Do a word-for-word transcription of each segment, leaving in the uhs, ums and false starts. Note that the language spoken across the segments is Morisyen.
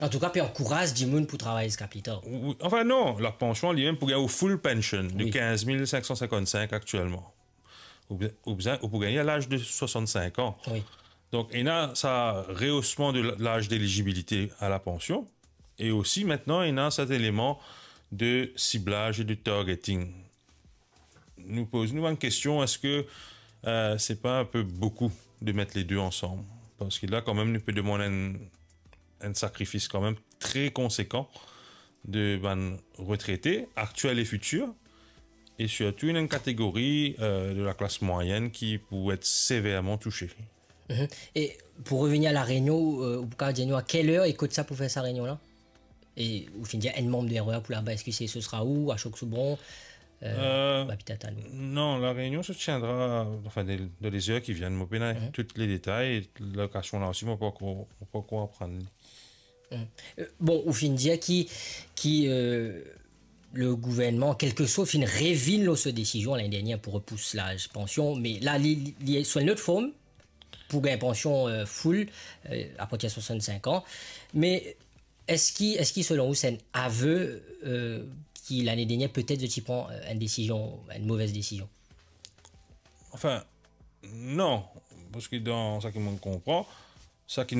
Antouka, pe ankouraz dimoun pou travay ziska pli tar. Ou, ou, anfin non, lapansion li mem pou gagn ou full pension de Wi. Quinze mille cinq cent cinquante-cinq aktielman. Ou, ou bizin, ou pou gagne à l'âge de soixante-cinq ans. Wi. Donk, ena sa rehosman de l-, l'âge d'éligibilité à la pension. E osi, aster, ena sa eleman de siblaz e de targeting. Nou poz nou enn kestion, eski, euh, se pa enn pe boukou de met le de ansam? Parski la, kanmem, nou pe demann enn, enn sakrifis kanmem tre konsekan de bann retrete, aktiel e fitir, e sirtou enn kategori, euh, de laklas mwayenn ki pou et severman touse. Mhm. E pou revenir a La Rényon, euh, ou kapav dir nou a kel er e kot sa pou fer sa reynion la? E ou finn dir enn manm de R E R pou laba, eski se, se sera ou, Ashok Soubron, euh, Euh, ba, petet a nou? Non, La Rényon se tiendra, anfin, dan, dan le er ki vinn. Mo pena Mhm. tou le detay, lokasion la osi, mo pankor, mo pankor aprann li. Mhm. Euh, bon, ou finn dir ki, ki, euh, le gouvernman, an kelke sort, finn revinn lor so desizion lane dernier pou repous laz pansion, me la, li, li, li sou enn lot form, pou gagn pansion, euh, full, euh, apartir de soixante-cinq ans. Me eski, eski selon ou, se enn ave, euh, ki lane dernier, petet, zot ti pran, euh, enn desizion, enn move desizion? Anfin, non, parski dan sa ki mo konpran, sa ki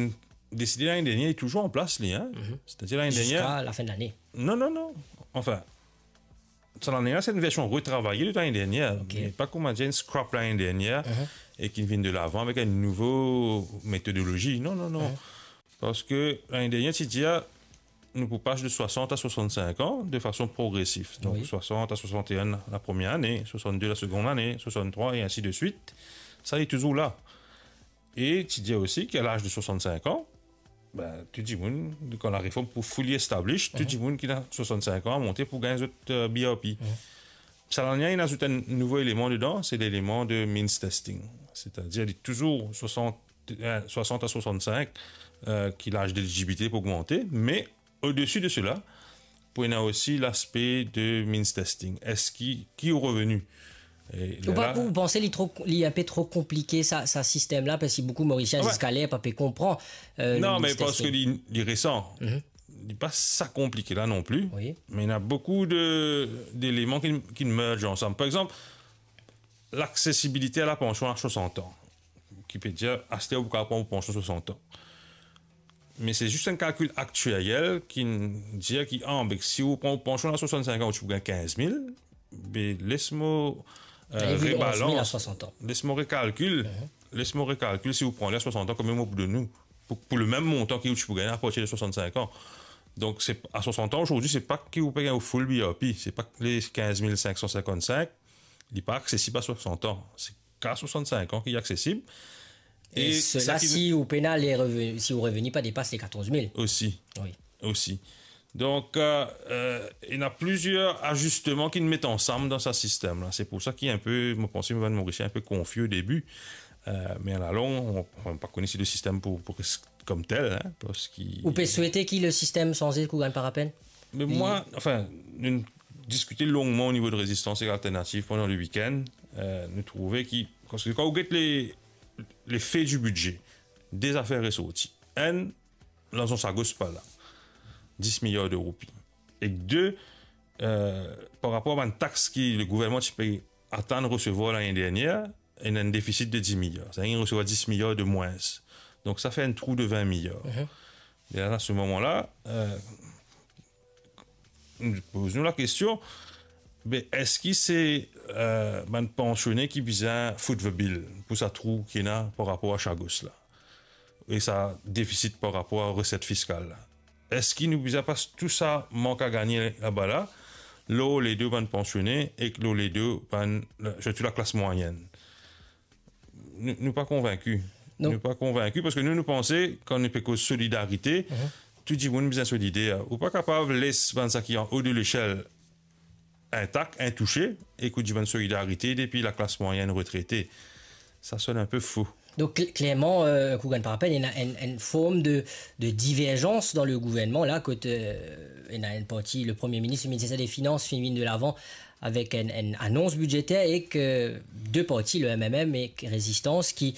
deside lane dernier, li touzour an plas, li, hein? Mhm. Setadir lane dernier Ziska lafin de lane? Non, non, non. Anfin, sa lane la, se enn version retravaye de lane dernier, Ok. me pa kouma dir enn scrap lane dernier, Mhm. e ki vinn de lavan avek enn nouvo metodolozi. Non, non, non. Mhm. Parski lane dernier, ti dir, nou pou pas de soixante à soixante-cinq ans de fason progresif. Donk, Wi. soixante à soixante et un la première année, soixante-deux la seconde année, soixante-trois et ainsi de suite. Sa, li touzour la. E ti dir osi ki a laz de soixante-cinq ans, ben, tou dimoun, kan lareform pou fully establish, tou Mhm. dimoun ki ena soixante-cinq ans a monte pou gagn zot, euh, B R P. Mhm. Sa lane la, inn azout enn nouvo eleman dedan, se leleman de means testing. Setadir, li touzour soixante, euh, soixante à soixante-cinq, euh, ki laz d'éligibilité pou ogmante, me odesi de sela, pou ena osi laspe de means testing. Eski, ki ou reveni? E Ou pa, lerla ou panse li tro, li enn pe tro konplike sa, sa sistem la, parski boukou Morisien Ah ouais. ziska ler pa pe konpran, euh, Non, le me means parski testing. li, li resan. Mhm. Li pa sa konplike la non pli, Wi. me ena boukou de, deleman ki, ki merge ansam. Par exanp, laksesibilite a lapansion a soixante ans, ki pe dir, aster ou kapav pran ou pansion soixante ans. Me se zis enn kalkil aktiariel ki dir ki, ah, be, si ou pran ou pansion a soixante-cinq ans, ou ti pou gagn quinze mille, be, les mo, euh, Li vinn onz mil a rebalans, soixante ans. les mo rekalkil, Mhm. les mo rekalkil si ou pran li a soixante ans, konbien mo pou donn ou, pou, pou le mem montan ki ou ti pou gagn apartir de soixante-cinq ans. Donk, se, a soixante ans, ozordi, se pa ki ou pe gagn ou full B R P, se pa le quinze mille cinq cent cinquante-cinq, li pa aksesib a soixante ans. Se ka soixante-cinq ans ki aksesib. E E sela, sa ki si ou pena le reveni, si ou reveni pa depas le quatorze mille. Osi. Wi. Osi. Donk, euh, euh, ena plizier azisteman ki met ansam dan sa sistem la. Se pou sa ki enn pe, mo panse, bann Morisien enn pe konfi o debi. Euh, me alalong, mo, mo pa kone si le sistem pou, pou res kom tel, hein, parski Ou pe swete ki le sistem sanze, Kugan Parapen? Me Li mwa, anfin, nou diskite longman o nivo de Rezistans ek Alternativ pandan le wikenn. Euh, nou trouve ki, parski kan ou get le, le fe di bidze, de zafer resorti. Enn, larzan Chagos pa la, dis miliar de roupi. Ek de, euh, par rapor a bann tax ki le gouvernman ti pe atann resevwar lane dernier, ena enn defisit de dis miliar. Setadir, li resevwar dis miliar de mwins. Donk, sa fer enn trou de vin miliar. Mhm. E la, a se moman la, euh, nou poz nou lakestion, be, eski se, euh, bann pansione ki bizin foot the bill pou sa trou ki ena par rapor a Chagos la, e sa defisit par rapor a reset fiskal la? Eski nou bizin pas tou sa mank a gagne laba la, lor le do bann pansione ek lor le do bann, sirtou laklas mwayenn? Nou, nou pa konvinki. Non. Nou pa konvinki, parski nou, nou panse, kan nou pe koz solidarite, Mhm. tou dimoun bizin solider. Ou pa kapav les bann sa ki anho de lesel intak, intouse, e ki ou dimann solidarite depi laklas mwayenn retrete. Sa sonn enn pe fou. Donk, kl-, klerman, euh, Kugan Parapen, ena enn, enn form de, de diverzans dan le gouvernman la, kot, euh, ena enn parti, le Premie Minis, le Minister de Finans, finn vinn de lavan avek enn, enn anons bidzeter ek, euh, de parti, le M M M ek Rezistans, ki,